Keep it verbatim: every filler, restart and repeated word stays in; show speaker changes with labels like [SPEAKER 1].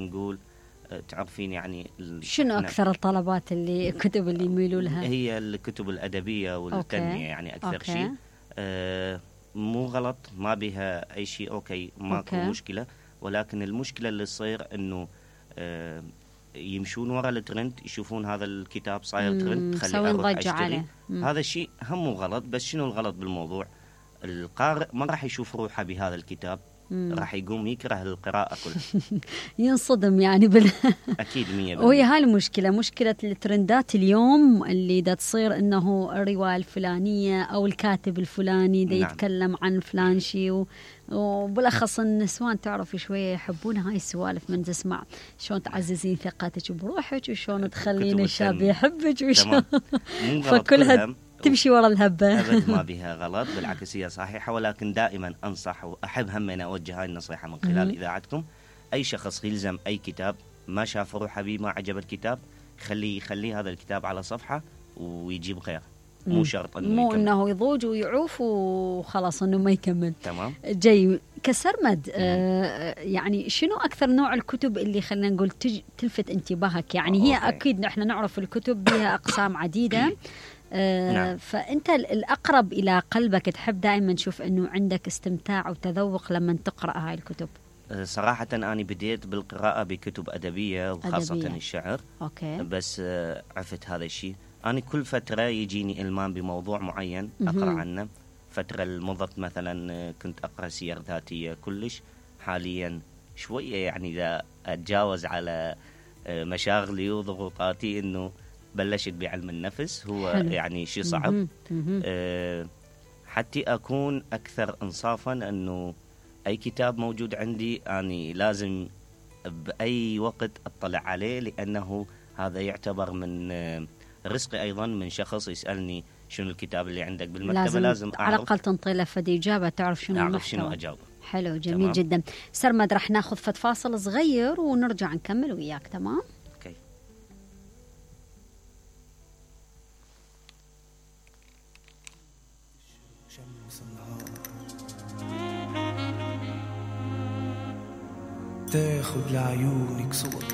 [SPEAKER 1] نقول تعرفين يعني
[SPEAKER 2] شنو أكثر الطلبات اللي الكتب اللي يميلوا لها؟
[SPEAKER 1] هي الكتب الأدبية والتنمية يعني أكثر
[SPEAKER 2] أوكي.
[SPEAKER 1] شيء. آه مو غلط، ما بها أي شيء، أوكي ماكو
[SPEAKER 2] أوكي.
[SPEAKER 1] مشكلة، ولكن المشكلة اللي تصير إنه آه يمشون ورا الترند، يشوفون هذا الكتاب صاير ترند خلي أروح أشتري. هذا الشيء هم مو غلط، بس شنو الغلط بالموضوع؟ القارئ ما راح يشوف روحه بهذا الكتاب، راح يقوم يكره القراءة كلها.
[SPEAKER 2] ينصدم يعني بال
[SPEAKER 1] أكيد مية بالمية.
[SPEAKER 2] وهي هاي المشكلة، مشكلة الترندات اليوم اللي دا تصير إنه الرواية الفلانية أو الكاتب الفلاني دا
[SPEAKER 1] نعم.
[SPEAKER 2] يتكلم عن فلان شيء و... وبالأخص النسوان تعرفي شوية يحبون هاي السوالف، من تسمع شلون تعززين ثقتك بروحك وشلون تخلين الشاب يحبك وشلون فكلها تمشي ورا الهبة.
[SPEAKER 1] أبد ما بها غلط، بالعكس هي صحيحة، ولكن دائما أنصح وأحب هم أن أوجه هاي النصيحة من خلال إذاعتكم. أي شخص يلزم أي كتاب ما شاف روحه بيه، ما عجب الكتاب، خليه يخلي هذا الكتاب على صفحة ويجيب غيره، مو شرط إنه
[SPEAKER 2] مو
[SPEAKER 1] يكمل.
[SPEAKER 2] إنه يضوج ويعوف وخلاص إنه ما يكمل.
[SPEAKER 1] تمام.
[SPEAKER 2] جاي كسرمد. آه يعني شنو أكثر نوع الكتب اللي خلينا نقول تج... تلفت انتباهك؟ يعني هي
[SPEAKER 1] أوكي.
[SPEAKER 2] أكيد نحن نعرف الكتب بها أقسام عديدة. آه
[SPEAKER 1] نعم.
[SPEAKER 2] فأنت الأقرب إلى قلبك تحب دائما تشوف أنه عندك استمتاع وتذوق لما تقرأ هاي الكتب.
[SPEAKER 1] صراحة أنا بديت بالقراءة بكتب أدبية وخاصة
[SPEAKER 2] أدبية.
[SPEAKER 1] الشعر.
[SPEAKER 2] أوكي.
[SPEAKER 1] بس عفت هذا الشيء. أنا كل فترة يجيني إلمام بموضوع معين أقرأ عنه. فترة المضت مثلا كنت أقرأ سير ذاتية كلش. حاليا شوية يعني إذا أتجاوز على مشاغلي وضغوطاتي إنه بلشت بعلم النفس. هو
[SPEAKER 2] حلو.
[SPEAKER 1] يعني شيء صعب. أه حتى أكون أكثر إنصافا أنه أي كتاب موجود عندي أني لازم بأي وقت أطلع عليه، لأنه هذا يعتبر من رزقي أيضا من شخص يسألني شنو الكتاب اللي عندك بالمكتبة.
[SPEAKER 2] لازم,
[SPEAKER 1] لازم
[SPEAKER 2] على الأقل تنطي له فدي إجابة تعرف شنو
[SPEAKER 1] أعرف
[SPEAKER 2] المحتوى.
[SPEAKER 1] شنو أجاوب.
[SPEAKER 2] حلو جميل
[SPEAKER 1] تمام.
[SPEAKER 2] جدا. سرمد رح ناخذ فد فاصل صغير ونرجع نكمل وياك. تمام.
[SPEAKER 1] أوكي.
[SPEAKER 3] تاخد لعيونك صور